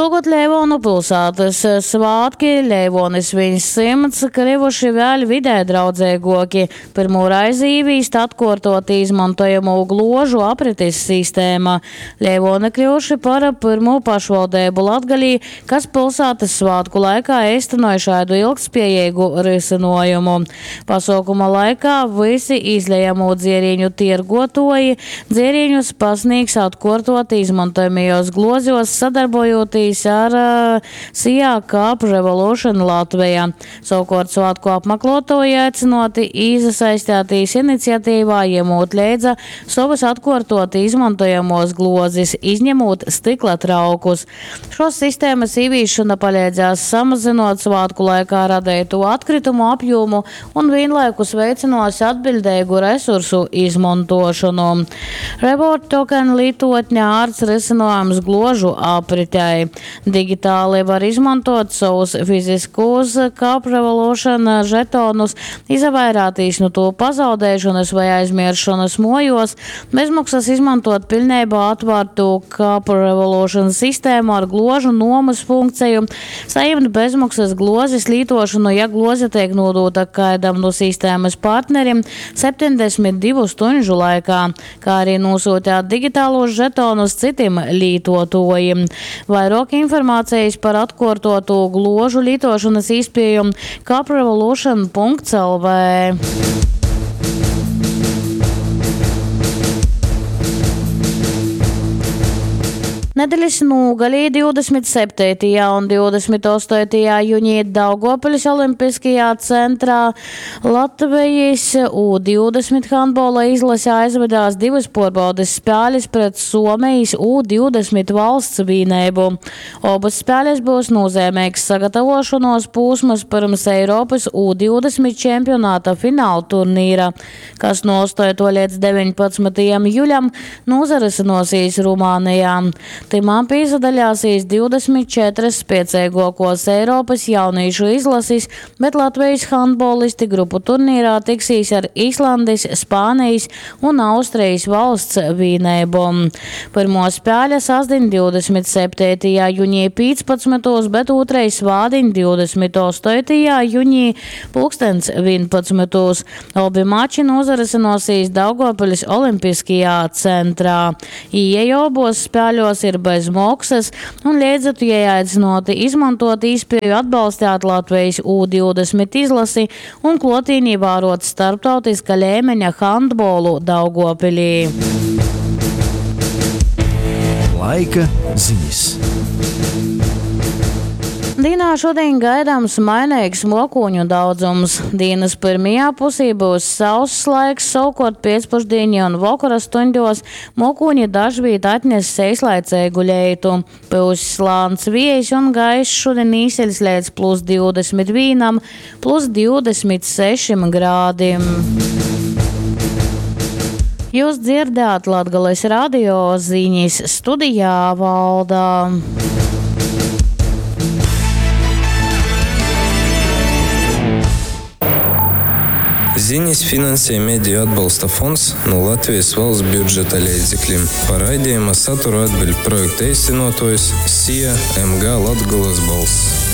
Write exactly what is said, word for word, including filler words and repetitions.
Šūgod Leivonu pilsētas svātki Leivoni sviņ symts krivuši vēļ vidē draudzeiguoki. Pyrmū reizi īvīsta atkuortuoti izmontojamū gluožu apritis sistēma. Leivoni kļuvuši par pyrmū pašvaldeibu Latgalī, kas pilsētas svātku laikā eistenoja šādu ilgtspējīgu risinājumu. Pasākuma laikā visi izlejamo dzierīņu tiergotoji dzierīņus pasniegs atkuortuoti izmantojamajos glozjos, sadarbojoties ar SIA Cup Revolution Latvija. Savukārt svētku apmeklētāji aicināti iesaistīties iniciatīvā, ņemot leidza savas atkārtoti izmantojamos glozes, izņemot stikla traukus. Šos sistēmas īvīšana palīdzēs samazinot svētku laikā radīto atkritumu apjomu un vienlaikus veicinās atbildīgu resursu izmantošanu. Reward token lietotne ārts risinājums gložu apritei. Digitāli var izmantot savus fiziskos Cup Revolution žetonus, izvairātīs no to pazaudēšanas vai aizmiršanas mojos, bezmaksas izmantot pilnībā atvērtu Cup Revolution sistēmu ar gložu nomas funkciju, saņemt bezmaksas glozes lietošanu, ja gloze tiek nodota kādam no sistēmas partnerim septiņdesmit divu stundu laikā, kā arī nosūtīt digitālos žetonus citiem lietotājiem. Vairāk informācijas par atkārtotu gložu lietošanas iespēju cuprevolution punkts L V. Nedēļas nogalī divdesmit septītajā un divdesmit astotajā jūnijā Daugavpils Olimpiskajā centrā Latvijas U divdesmit handbola izlase aizvedās divas pārbaudes spēles pret Somijas U divdesmit valsts vienību. Abas spēles būs nozīmīgs sagatavošanos posms pirms Eiropas U divdesmit čempionāta fināla turnīra, kas no astoto līdz deviņpadsmitajam jūlijam norisināsies Rumānijā. Timā pīzadaļāsīs divdesmit četras spēcīgākos Eiropas jauniešu izlases, bet Latvijas handbolisti grupu turnīrā tiksīs ar Islandes, Spānijas un Austrijas valsts vienību. Pirmo spēle sasdiņ divdesmit septītajā jūnijā piecpadsmitos, bet otrais svādiņ divdesmit astotajā jūnijā pulkstens vienpadsmitos. Obi mači norisināsies Daugavpils Olimpiskajā centrā. Ieeja abos spēļos ir bez maksas un līdzekļu ieaicināti izmantot iespēju atbalstīt Latvijas U divdesmit izlasi un klotīnī vērot starptautiska līmeņa handbolu Daugavpilī. Laika ziņas. Dienā šodien gaidāms mainīgs mokoņu daudzums. Dienas pirmajā pusē būs sauss laiks, savukārt pēcpusdienī un vakara stundos mokoņi dažviet atnes eislaicīgu leitu. Būs slāns vējs un gaiss šodien īseļs līdz plus divdesmit vienam, plus divdesmit sešiem grādiem. Jūs dzirdējāt Latgales radio ziņas studijā Valda. Ziņas finansē Mediju atbalsta fonds no Latvijas valsts budžeta līdzekļiem. Par raidījuma saturu atbild projekta īstenotājs S I A M G Latgolas balss.